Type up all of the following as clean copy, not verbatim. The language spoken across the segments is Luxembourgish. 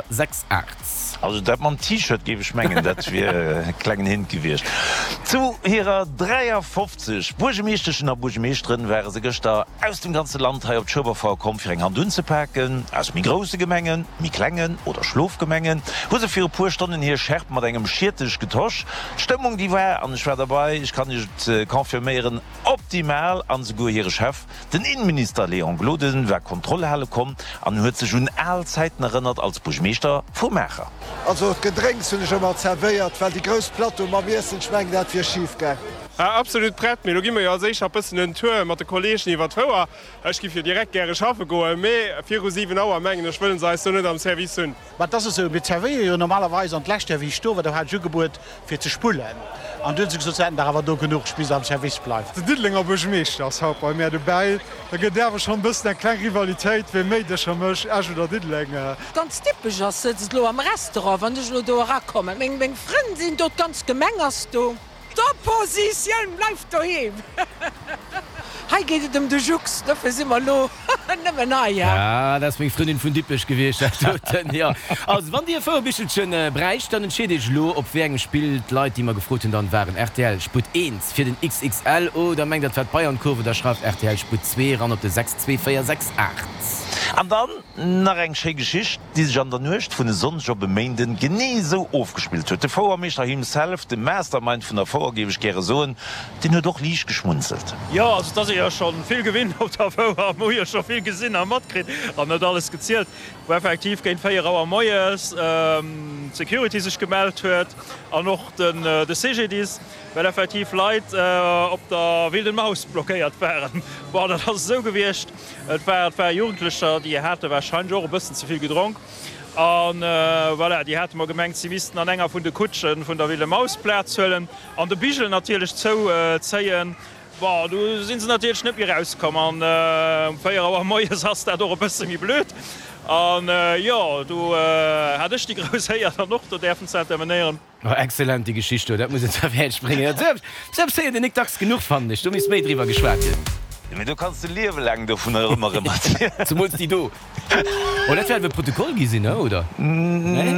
6 8. Also dat mam T-Shirt géif ech mengen, dat wier e klengen Hint gewiescht. Zu hirer 53 Buergemeeschteschen a Buergemeeschteren ware se gëschter aus dem ganze Land hei op d'Schueberfouer komm fir eng Hand unzepaken. Aus méi grousse Gemengen, méi klengen oder Schlofgemengen hu se fir e puer Stonnen hir Schärp mat engem Schiertech getosch. D'Stëmmung déi war, an ech war derbei, ech kann iech et confirméieren, optimal an esouguer hire Chef, Den Innenminister Léon Gloden war Kontroll hale komm an huet sech un al Zäiten erënnert als Buergmeeschter vu Maacher. Also d'Gedrénks hunn ech ëmmer zerwéiert, well déi grouss Plateau mam Iessen, ech mengen dat wier schif gaang. Absolut prett, mee lo gi mer jo als éischt nach bëssen en Tour mat de Kollegen iwwer d'Fouer. Ech giff jo direkt gäre schaffe goen, mee viru 7 Auer mengen ech wëllen se eis do net am Service hunn. Mä et ass esou, mir zerwéiere jo normalerweis, an d'lescht Joer wéi ech do war, do hat ech ugebuet fir ze spullen, an du hunn se gesot, se hätten der awer do genuch, ech misst am Service bleiwen. Den Diddelenger Buergemeeschter ass haut bei mär dobäi. Da gëtt et awer schonn e bëssen eng kleng Rivalitéit, wee méi Dëscher mécht, Esch oder Diddeleng. Ganz typesch ass, sëtzt elo am Restaurant, wann ech elo do erakommen, meng Frënn sinn do, d'ganz Gemeng ass do. D'Oppositioun bleift doheem. Hei geet et ëm de Jux, dofir si mer elo nëmmen hei. Ah, dat ass meng Frëndin vun Dippech gewiescht, dat doten, jo. Also, wann Dir e Fouerbichelchen bräicht, dann entscheet Iech elo, op wéi engem Spill d'Leit, déi mer gefrot hunn, dann waren. Rtl Sputt 1 fir den XXL oder mengt Der, et war d'Bayernkurve, da schreift rtl Sputt 2 eran op de 62468. An dann nach eng schéi Geschicht, déi sech an der Nuecht vun e Sonndeg op e Méinden genee esou ofgespillt huet. De Fouermeeschter himself, de Mastermind vun der Fouer géif ech gäre soen, deen huet och liicht geschmunzelt. Jo, also et ass ee jo scho vill gewinnt op der Fouer, mer hu jo scho vill gesinn a matkritt an net alles gezielt, wou effektiv géint 4 Auer moies d'Security sech gemellt huet an och de CGDIS, well effektiv Leit op der Wilden Maus blockéiert waren. Bon, dat ass esou gewiescht. Et war, et ware Jugendlecher, déi hate warscheinlech och e bëssen ze vill gedronk. A voilà, déi hate mer gemengt, si missten an enger vun de Kutschen vun der Wilde Maus Plaz huelen an de Bigel natierlech zouzéien. Bon, du si se natierlech net méi erauskomm an um 4 Auer moies ass dat och e bësse méi blöd. An jo, du hat ech déi grouss Éier dann och do däerfen ze intervenéieren. Oh excellent déi Geschicht do, dat muss een zwar fäerdeg bréngen. Dat sou eppes héiert een nik dacks genuch fannen ech, do misst méi driwwer geschwat ginn. Mee do kanns de Liewe laang dovunner ëmmer erëm erzielen. Zemools déi do. Oh dat wäert awer e Protokoll gi sinn, oder? Nee?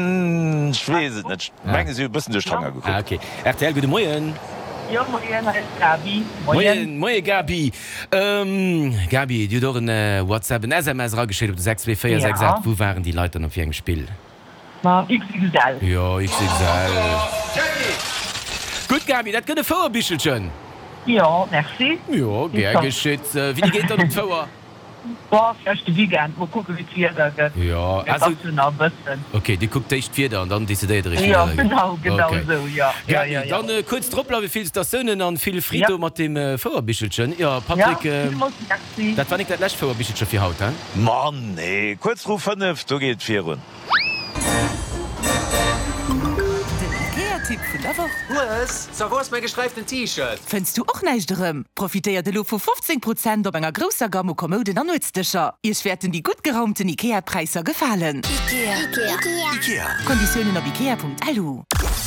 Ech weess et net, ech menge si hu e bëssen duerch d'Fanger gekuckt. Ah ok. Rtl, gudde Moien. Jo moien, hei ass d'Gaby. Moien. Moie Gaby. Gaby, dir hutt och en WhatsApp, en SMS erageschéckt op de 62468. Wou waren déi Leit dann op wéi engem Spill? Ma XXL. Jo, XXL. Gutt, Gaby, dat gëtt e Fouerbichelchen. Jo, merci. Jo, gär geschitt. Wéini geet dann op d'Fouer? Boah, vläicht de Weekend. Mol kucken, wéi d'Wieder gëtt. Jo, Et also. ass jo nach e bëssen. Ok, dir kuckt d'éischt d'Wieder an dann decidéiert der iech, wéi Jo, et weidergeet. genau, genau Ok. esou, jo. Jo, Gaby, jo, jo. dann kuerz drop bleiwen, Félicitatiounen an vill Jo. Frito mat deem Fouerbichelchen. Jo, Jo, Patrick, villmools merci. dat war nik dat lescht Fouerbichelche fir haut, hein? Ma nee, kuerz vru 5, do geet et virun. Den Ikea-Tipp vun der Woch. Hues, sa wou ass mäi gesträiften T-Shirt? Fënns du och näischt erëm? Profitéiert elo vu 15 Prozent op enger grousser Gamm u Kommouden an Nuetsdëscher. Iech wäerten déi gutt geraumten Ikea-Präisser gefalen. Ikea. Konditiounen op ikea.lu.